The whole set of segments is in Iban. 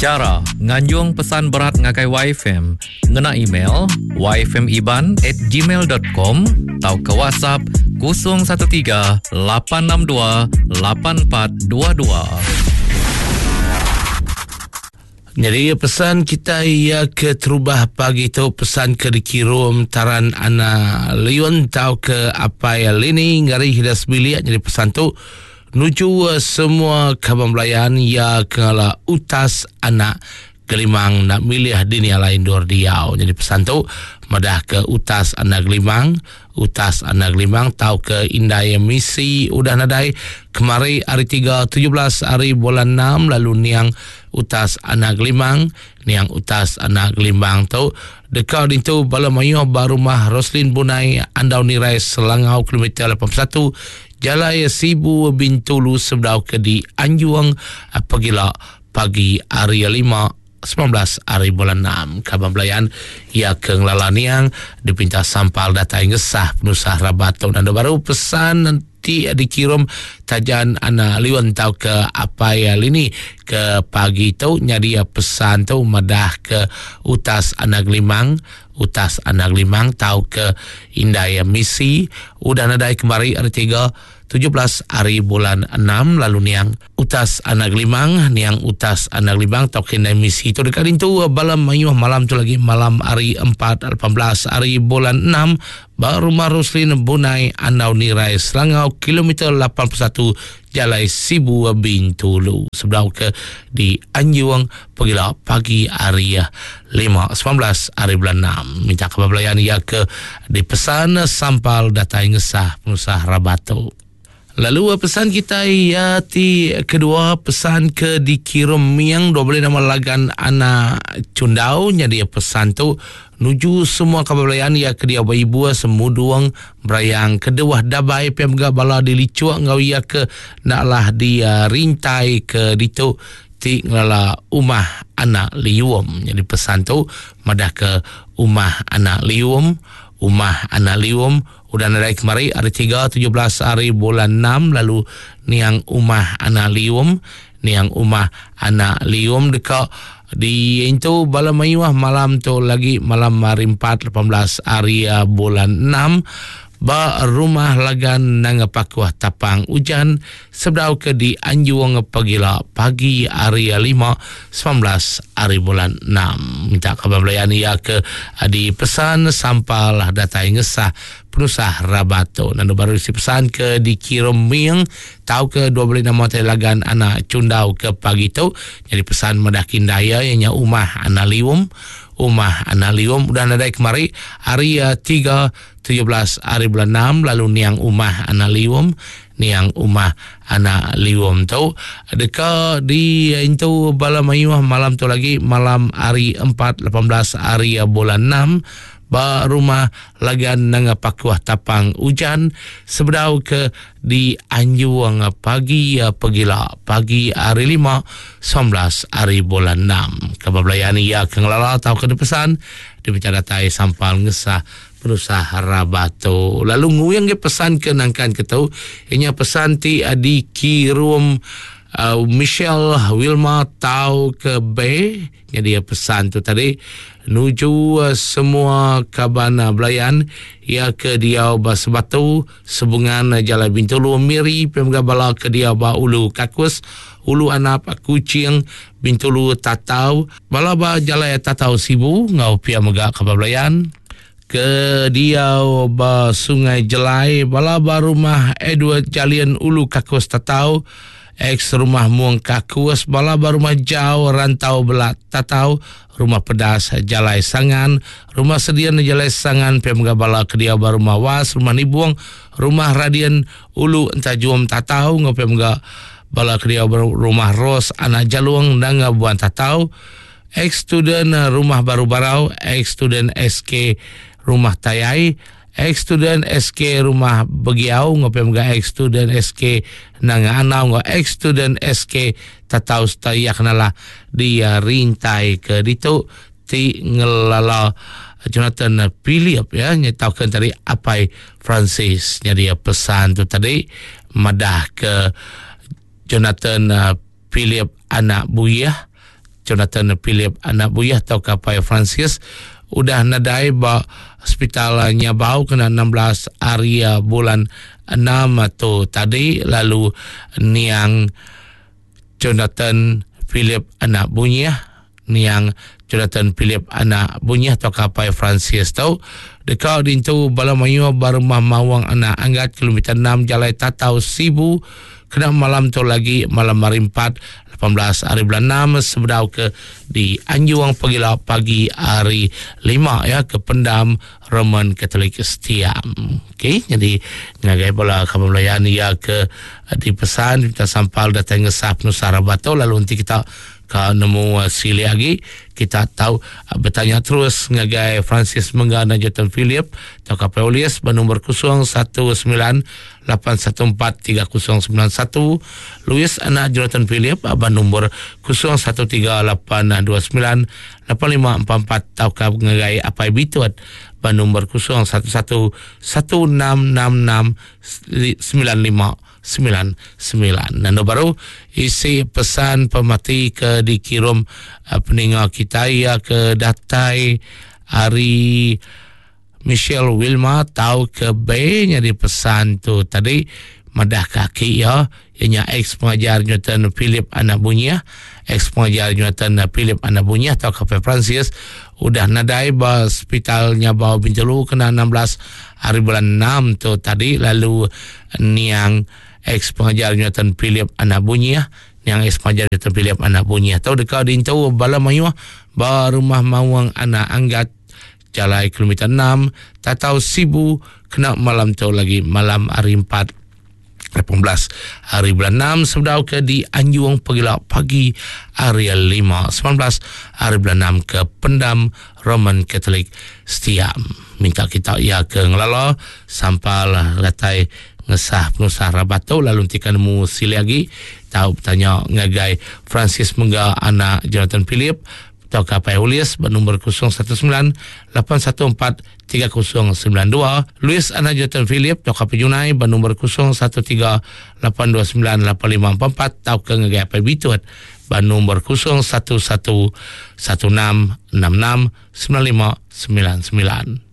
Chara nganjung pesan berat ngagai YFM ngena email yfmiban@gmail.com tauka WhatsApp 013 862 8422. Nyadi pesan kita iya ke terubah pagi tu pesan ke dikirum Taran Ana Liun tau ke Apai Lini ngari hida sebilik jadi pesan tu nuju semua kaban belayan iya ke ngala utas anak Gelimang nak milih dini alai endur diau. Jadi pesan tu madah ke utas anak Gelimang, utas anak Gelimang tau ke indai misi udah nadai kemari hari 3 17 hari bulan 6 lalu niang utas anak Gelimang, niang utas anak Gelimbang tu deka dintu bala mayuh ba rumah Roslin Bunai Andau Nirai Selangau kilometer 81 Jalai Sibu Bintulu sebedau ke di Anjung pegila pagi hari lima 19 hari bulan 6. Kaban belayan ia ke ngelala niang dipinta sampal datai ngesah penusah rabat tu. Nanda baru pesan nanti dikirim tajan anak liun tau ke apai lini ke pagi tu nyadi pesan tu madah ke utas anak limang utas anak limang tau ke indai misi udah nadai kemari hari tiga 17 hari bulan 6 lalu niang Utas Anak Limang, niang Utas Anak Limang tauka indai misi tu deka dintu bala mayuh malam tu lagi malam hari 4 18 hari bulan 6 ba Rumah Roslin Bunai Andau Nirai Selangau kilometer 81 Jalai Sibu Bintulu sebedau ke di Anjung pegila pagi hari 5 19 hari bulan 6 minta kaban belayan iya ke dipesan sampal datai ngesah penusah rabat tu. Lalu pesan kitai iya ti kedua pesan ke dikirum Ming dua beli nama Lagan Anak Chundau nyadi pesan tu nuju semua kaban belayan iya ke diau ba Ibua Semudung Berayang Keduah Dabai pia mega bala di Lichuk enggau iya ke enda alah di rintai ke ditu ti ngelala Umah Anak Lium. Nyadi pesan tu madah ke Umah Anak Lium Umah Anak Lium Udah nadai kemari hari tiga 17 hari bulan 6 lalu niang Umah Anak Lium niang Umah Anak Lium deka diintu bala mayuh malam tu lagi malam hari 4 18 hari ah, bulan 6 ba rumah Lagan Nanga Pakuh Tapang Ujan sebedau ke di Anjung pagila pagi hari 5 19 hari bulan 6. Minta kaban belayan iya ke dipesan sampal datai ngesah penusah rabat tu. Nanu baru isi pesan ke dikirim Ming tau ke dua beli nama tadi lagan anak Chundau ke pagi tu. Jadi pesan madah kindai iya nya Umah Anak Lium. Umah Anak Lium udah nadai kemari hari 3 17 hari bulan 6 lalu niang Umah Anak Lium Niang Umah Anak Lium tu deka diintu bala mayuh malam tu lagi malam hari 4 18 hari bulan 6 ba rumah Lagan Nanga Pakuh Tapang Ujan sebedau ke dianjung pagi pegila pagi hari 5 19 hari bulan 6. Kaban belayan iya ke ngelala tauka dipesan dipinta datai sampal ngesah Penusah rabat tu. Lalu nguing ge pesan ke nangkan ke tu, inya pesan ti dikirum uh, Michelle Wilma Tau ke B. Jadi pesan tu tadi nuju uh, semua kaban uh, belayan ia ke diau ba Sebatu, Sebungan Jalai Bintulu, Miri, pemga bala ke diau ba Ulu Kakus, Ulu Anap, Kuching, Bintulu, Tatau, bala ba Jalai Tatau Sibu ngau pia mega kaban belayan ke diau ba Sungai Jelai, bala ba rumah Edward Jalian Ulu Kakus Tatau, ex rumah Mung Kakus, bala ba rumah Jau Rantau Belak Tatau, rumah Pedas Jalai Sangan, rumah Sedian Jalai Sangan, pia mega bala ke diau ba rumah Was, rumah Nibung, rumah Radian Ulu Entajum Tatau, enggau pia mega bala ke diau ba rumah Ros Anak Jalung Nanga Buan Tatau, Ex-student Rumah Baru Barau, ex-student SK Rumah Tayai, ex-student SK Rumah Begiau enggau pia mega ex-student SK Nanga Anau enggau ex-student SK Tatau sereta iya ke nalah di rintai ke ditu ti ngelala Jonathan Philip ya nyetauka tadi Apai Francis nyadi pesan tu tadi madah ke Jonathan Philip. Anak Buyah, Jonathan Philip Anak Buyah tauka Apai Francis udah nadai ba Sepital Nyabau kena 16 hari bulan 6 tu tadi lalu niang Jonathan Philip Anak Bunyih niang Jonathan Philip Anak Bunyih tauka Apai Francis tu deka dintu bala mayuh ba Rumah Mawang Anak Anggat kilometer 6 Jalai Tatau Sibu kena malam tu lagi malam hari 4 18 hari bulan 6 sebedau ke di Anjung pagila pagi hari 5 ya ke pendam Roman Catholic Setiam. Okey, jadi ngagai bala kaban belayan iya ke dipesan minta sampal datai ngesah penusah rabat tu lalu enti kita ka nemu silik agi kita tau betanya terus ngagai Francis Mengga dan Jonathan Philip tauka Paulis ba nombor 019 814 3091 Louis anak Jonathan Philip ba nombor 013 829 8544 tauka ngagai Apai Bitut ba nombor 011 1666 9599. Nanda baru isi pesan pemati ke dikirum eh, peninga kita ia ke datai hari Michelle Wilma tau ke B nyadi pesan tu tadi madah ke aki iya iya nya ex pengajar Newton Philip anak Bunyih ex pengajar Newton Philip anak Bunyih tau ke Francis udah nadai ba sepital Nyabau Bintulu kena 16 hari bulan 6 tu tadi lalu niang ex pengajar Newton Philip anak Bunyih niang ex pengajar Newton Philip anak Bunyih tau deka dintu bala mayuh ba rumah Mawang anak Anggat Jalai kilometer 6 Tatau Sibu kena malam tu lagi malam hari 4 18 hari bulan 6 sebedau ke di Anjung pagila pagi hari 5 19 hari bulan 6 ke Pendam Roman Catholic Setiam. Minta kita ia ke ngelala sampal datai ngesah penusah rabat tu lalu nanti kan nemu sili lagi tau bertanya ngagai Francis Mengga anak Jonathan Philip tauka Apai Ulis ba nombor 019 814 3092, Louis Anak Jonathan Philip tauka Penyunai ba nombor 013 829 8544 tauka ngagai Apai Bitut ba nombor 011 16 66 9599.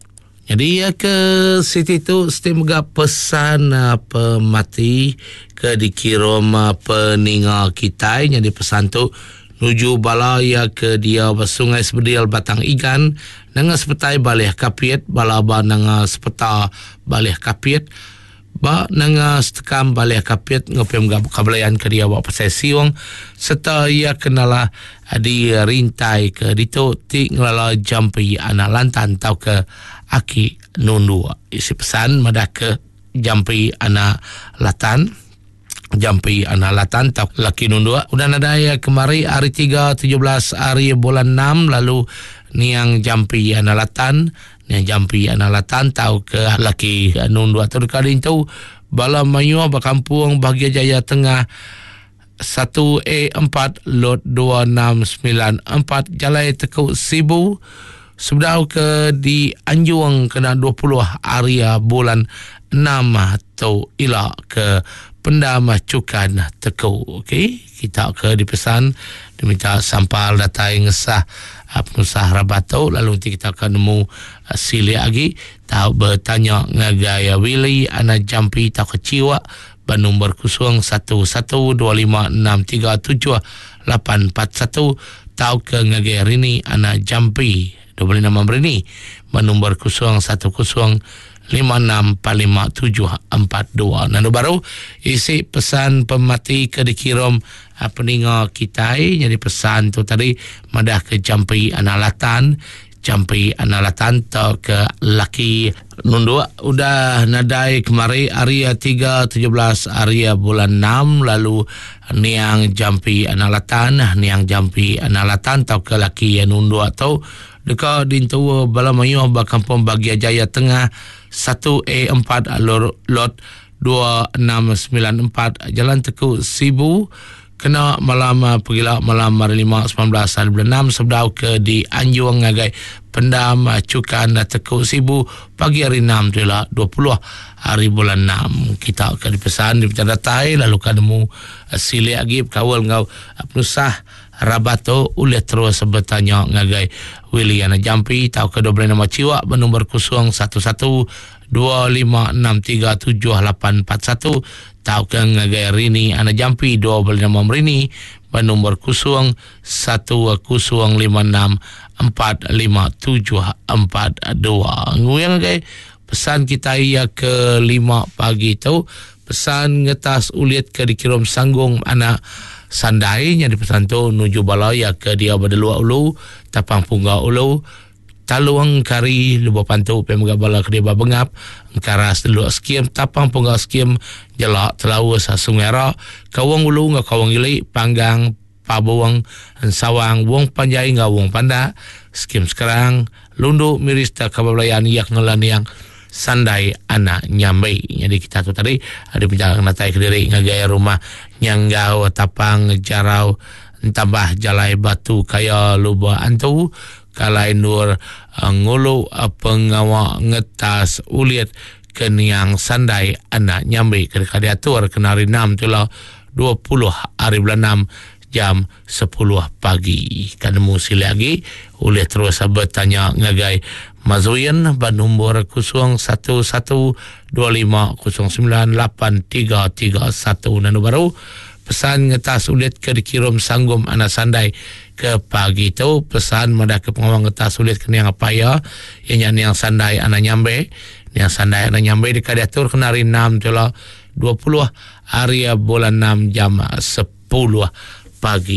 Jadi ya ke siti tu siti mega pesan uh, pemati ke dikirum uh, peninga kitai nyadi pesan tu nuju bala ya ke dia ba Sungai Sebedil Batang Igan nanga sepetai Balih Kapit bala ba nanga sepeta Balih Kapit Ba nanga setekam Balih Kapit enggau pia mega Kabelayan ke diau ba Pasai Siong sereta iya ke nalah di rintai ke ditu ti ngelala Jampi Anak Lantan tauka Aki Nunduk. Isi pesan madah ke Jampi Anak Latan Jampi Anak Latan tauka Laki Nunduk udah nadai kemari hari 3 17 hari bulan 6 lalu niang Jampi Anak Latan Nya jampi anak latan tauka laki nunduk tu deka diintu bala mayuh ba kampung Bahagia Jaya Tengah 1A4 Lot 2694 Jalai Teku Sibu sebedau ke dianjung kena 20 hari bulan 6 tu ila ke Pendam Chukan Teku. Okey, kita ke dipesan diminta sampal datai ngesah penusah rabat tu lalu enti kita ke nemu silik agi tau betanya ngagai Willie anak Jampi tauka Chiwak ba nombor 0112563741 tauka ngagai Rini anak Jampi 26 Rini ba nombor 010 5645742. Nanu baru isi pesan pemati ke dikirum ah, peninga kitai jadi pesan tu tadi madah ke jampi anak latan jampi anak latan atau ke laki nunduk udah nadai kemari hari 3 17 hari bulan 6 lalu niang jampi anak latan niang jampi anak latan atau ke laki nunduk tu Deka dintu bala mayuh ba Kampung Bagia Jaya Tengah 1A4 Lot 2694 Jalan Teku Sibu Kena malam pegila malam hari lima 19 hari bulan 6 sebedau ke dianjung ngagai pendam Chukan Teku Sibu pagi hari 6 tu ila 20 hari bulan 6. Kita ke dipesan dipinta datai lalu ka nemu silik agi bekaul enggau penusah rabat tu ulih terus betanya ngagai Willie Anak Jampi tauka dua belas nama chiwak ba nombor 011 25637841 tauka ngagai Rini Anak Jampi dua beli nama Merini ba nombor 0105645742. Nguyang ngagai pesan kita iya ke 5 pagi tu pesan ngetas ulit ke dikirum sanggung anak Sandai nya dipesan tu nuju bala iya ke dia ba Delua Ulu Tapang Pungga Ulu Talung Kari Lubok Pantu pia mega bala ke diba Bengap Engkaras Deluk Skim Tapang Pungga Skim Jelak Telaus Sungai Ra Kawong Ulu enggau Kawong Ili Panggang Pabong Ensawang Wong Panjai enggau Wong Pandak Skim Sekerang Lundu Miri sereta Kaban Belayan iya ke ngela niang Sandai Anak Nyambi. Nyadi kita tu tadi dipinta ngenatai kediri ngagai rumah Nyanggau Tapang Jarau Entambah Jalai Batu Kaya Lubok Antu Kalai endur ngulu pengawa ngetas ulit ke niang Sandai Anak Nyambi ke deka diatur kena hari enam tu ila 20 hari bulan enam jam 10 pagi. Ka nemu silik agi ulih terus betanya ngagai Mazuin ba nombor 011 25 09 8331. Nanu baru pesan ngetas ulit ke dikirum Sanggum Anak Sandai ke pagi tu pesan madah ke pengawa ngetas ulit ke niang apai iya iya nya niang Sandai Anak Nyambe. Niang Sandai Anak Nyambe deka diatur kena hari 6 tu ila 20 hari bulan 6 jam 10 pagi.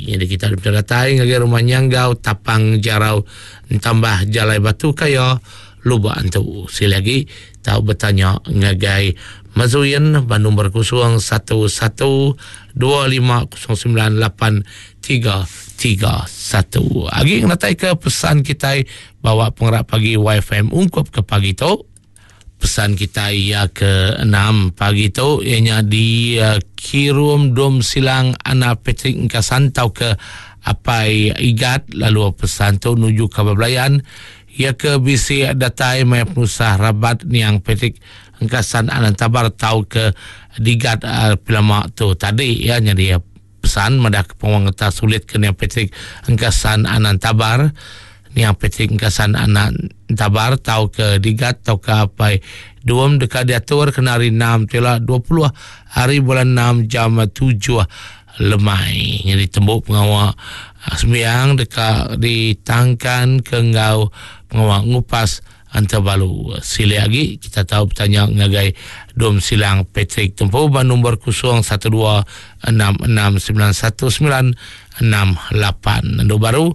Jadi kita dipinta datai ngagai rumah Nyanggau Tapang Jarau Entambah Jalai Batu Kaya Lubok Antu. Sekali lagi tau betanya ngagai Mazuin ba nombor 011 2509 8331. Agi ngenatai ke pesan kitai bawa pengerak pagi YFM ungkup ke pagi tu. Pesan kitai iya ke 6 pagi tu iya nya di Kirum Dom Silang Anak Patrick Engkasan tau ke Apai Igat lalu pesan tu nuju ke Belayan iya ke bisi datai maya penusah rabat niang Patrick Engkasan Anak Tabar tau ke Digat Pilama tu tadi iya nyadi pesan madah ke penguang ngetas sulit ke niang Patrick Engkasan Anak Tabar Niang Patrick Engkasan Anak Tabar tau ke Digat tau ke Apai Duom deka diatur kena hari 6 tu ila 20 hari bulan 6 jam 7 lemai. Nyadi tembu pengawa sembiang deka ditangkan ke enggau pengawa ngupas Antabalu. Silik agi kita tau betanya ngagai Dom Silang Patrick Tempu ba nombor 012 6691 968. Endu baru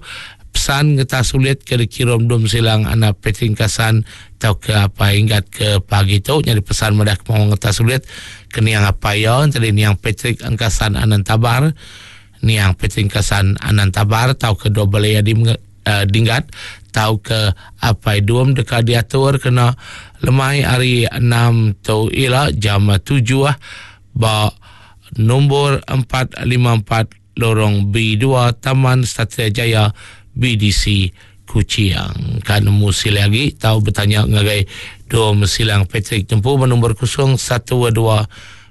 pesan ngetas sulit ke dikirum Dom Silang anak Patrick Kasan tau ke apa inggat ke pagi tu nyadi pesan madah ke mau ngetas sulit ke niang apa iya tadi niang Patrick Angkasan Anan Tabar niang Patrick Angkasan Anan Tabar tau ke double A di Dinggat tauka Apai Dum deka diatur kena lemai hari enam tu ila jam tujuh ba nombor 454 Lorong B2 Taman Satria Jaya BDC Kuching. Ka nemu silih agi tau betanya ngagai Dum Silang Patrick Tempu ba nombor 012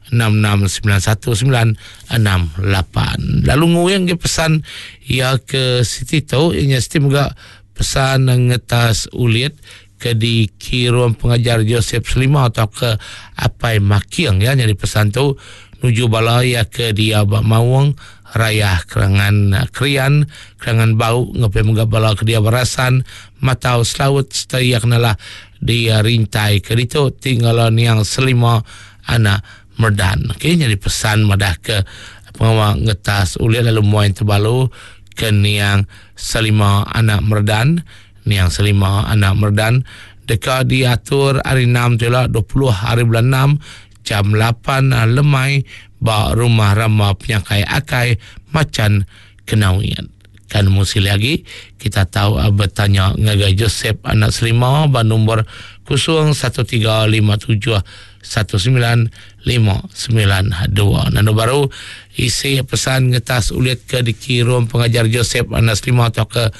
6691 968. Lalu nguing ke pesan iya ke siti tu iya nya siti mega pesan ngetas ulit ke dikirum pengajar Joseph Selima atau ke Apai Making ya nyadi pesan tu nuju bala iya ke dia ba Maung Rayah Kerangan Krian Kerangan Bau ngapai mega bala ke dia Berasan Matau Selaut serta iya kenalah di rintai ke ditu ti ngala niang Selima anak Merdan. Okey nyadi pesan madah ke pengawa ngetas ulih lalu muai tebalu ke niang Selima anak Merdan. Niang Selima anak Merdan deka diatur hari 6 tu ila 20 hari bulan 6 jam 8 lemai ba Rumah Rama Penyangkai Akai Macan Kenawit. Kan nemu silik agi, kita tau betanya ngagai Joseph anak Selima ba nombor 01357 19592. Nanu baru isi pesan ngetas ulit ke dikirum pengajar Joseph Anas Lima atau ke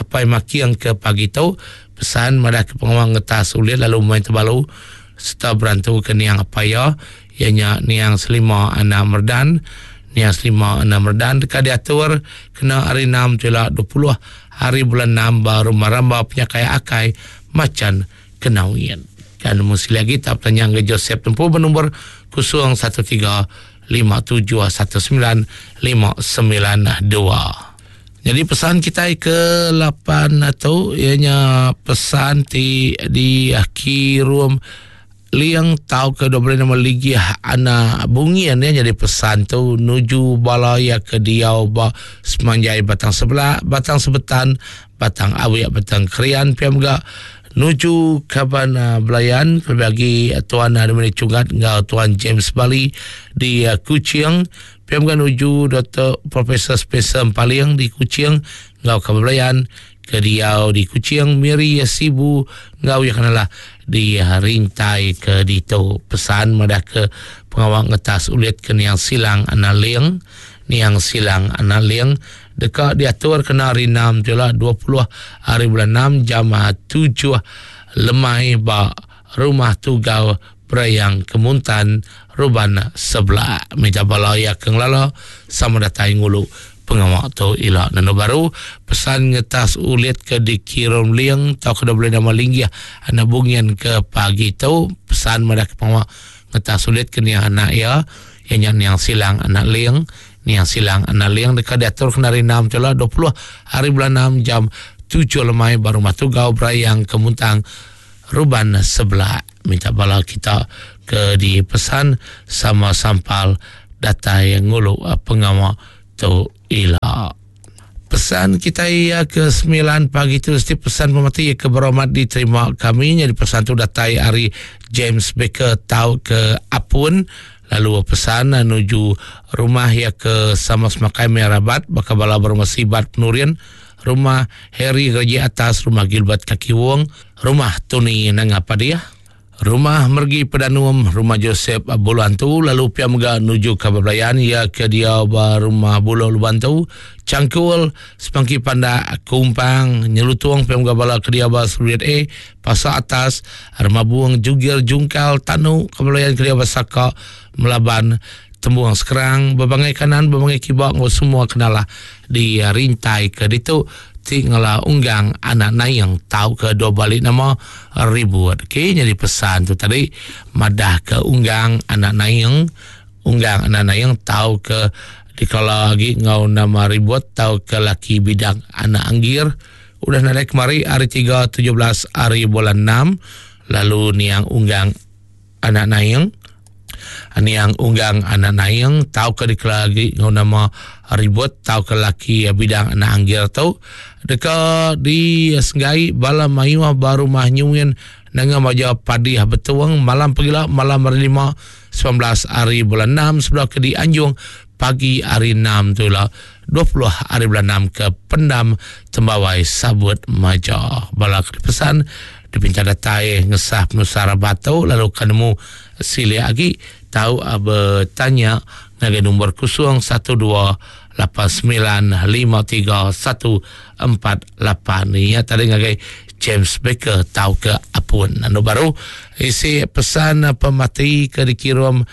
Apai Making ke pagi tu pesan madah ke pengawa ngetas ulit lalu main tebalu serta berantu ke niang apai iya iya nya niang Selima Anak Merdan niang Selima Anak Merdan deka diatur kena hari 6 tu ila 20 hari bulan 6 ba Rumah Ramba Penyakai Akai Machan Kenawin. Kan nemu sekali agi tau betanya enggau Joseph Tempu benombor 013 5719 592. Jadi pesan kitai ke 8 tu iya nya pesan ti dikirum Liang tau ke dok beri nama Ligih Anak Bungin ya jadi pesan tu nuju bala iya ke diau ba semanjai Batang Sebelah, Batang Sebetan, Batang Awik, Batang Krian pia mega nuju kaban uh, belayan kelebih agi uh, Tuan uh, Dominic Chungat enggau Tuan James Bali di uh, Kuching pia mega nuju Dr. Profesor Spencer Empaling di Kuching enggau kaban belayan ke diau di Kuching, Miri, Sibu enggau iya kenalah di rintai ke ditu. Pesan madah ke pengawa ngetas ulit ke niang Silang Anak Ling, niang Silang Anak Ling deka diatur kena hari 6 tu ila 20 hari bulan 6 jam 7 lemai ba Rumah Tugau Berayang Kemuntan Ruban Sebelah. Minta bala iya ke ngelala sama datai ngulu pengawa tu ila nenu baru pesan ngetas ulit ke dikirum ling tau ke boleh nama linggih anak bungin ke pagi tu pesan madah ke pengawa ngetas ulit ke niang anak iya iya nya niang silang anak ling niang silang anak ling deka diatur kena hari 6 tu ila 20 hari bulan 6 jam 7 lemai ba rumah tugau berayang kemuntang Ruban sebelah minta bala kita ke dipesan sama sampal datai ngulu pengawa tu ila. Pesan kita iya ke 9 pagi tu setiap pesan pemati ke beromat diterima kami jadi pesan tu datai ari James Baker tau ke Apun lalu pesan nuju rumah iya ke sama semakai Merabat baka bala berumah Sibat Penurin Rumah Harry Gereja Atas, Rumah Gilbert Kaki Wong, Rumah Tony Nanga Padiah, Rumah Mergi Pedanum, Rumah Joseph Bulu Antu, lalu pia mega nuju ke Bebelayan iya ke diau ba Rumah Bulu Lubantu, Changkul, Sepangki Pandak, Kumpang, Nyelutung pia mega bala ke diau ba Seruit A, Pasar Atas, Rumah Buong, Jugir, Jungkal, Tanu, ke Bebelayan ke diau ba Saka, Melaban, Tembuang Sekerang, Bebangai Kanan, Bebangai Kiba enggau semua kenalah di rintai ke ditu ti ngela unggang anak naing tauka dua bali nama ribut. Okey nyadi pesan tu tadi madah ke unggang anak naing unggang anak naing tauka dikala agi enggau nama ribut tauka laki bidang anak anggir udah nadai kemari hari 3 17 hari bulan 6 lalu niang unggang Anak Naing, Niang Unggang Anak Naing tauka dikela agi enggau nama Ribut tauka laki bidang anak anggir tu deka disenggai bala mayuh ba rumah Nyuin Nanga Maja Padih Betong malam pegila malam hari lima 19 hari bulan 6 sebedau ke dianjung pagi hari 6 tu ila 20 hari bulan 6 ke Pendam Tembawai Sabut Maja. Bala ke dipesan dipinta datai ngesah penusah rabat tu lalu ka nemu silik agi tau betanya ngagai nombor 012 8953148 iya tadi ngagai James Baker tau ke Apun. Anu baru isi pesan pemati ke dikirum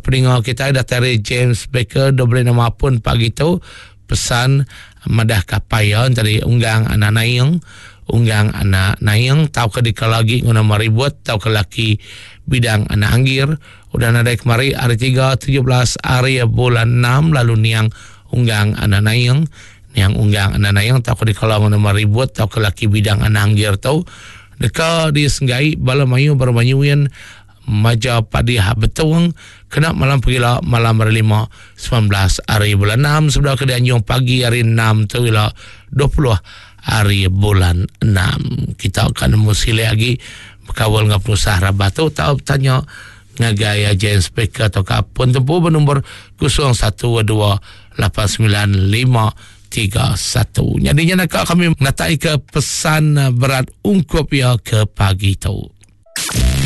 peninga kitai datai ari James Baker dok beri nama Apun pagi tu Pesan madah ka apai iya entadi unggang anak naing, unggang anak naing tauka dikala agi nguna meribut tauka laki bidang anak anggir udah nadai kemari hari tiga 17 hari bulan 6 lalu niang unggang anak naing, niang unggang anak naing tauka dikala nguna meribut tauka laki bidang anak anggir tu deka disenggai bala mayuh baru manyuin Maja Padih Betong kena malam pegila malam hari lima 19 hari bulan 6 sebedau ke dianjung pagi hari 6 tu ila 20 hari bulan 6. Kita akan nemu silik agi bekaul enggau penusah rabah tu tau betanya ngagai James Baker atau ke pun tempu bernombor 012 895 31. Nyadi nya naka kami natai ke pesan berat ungkup iya ke pagi tu.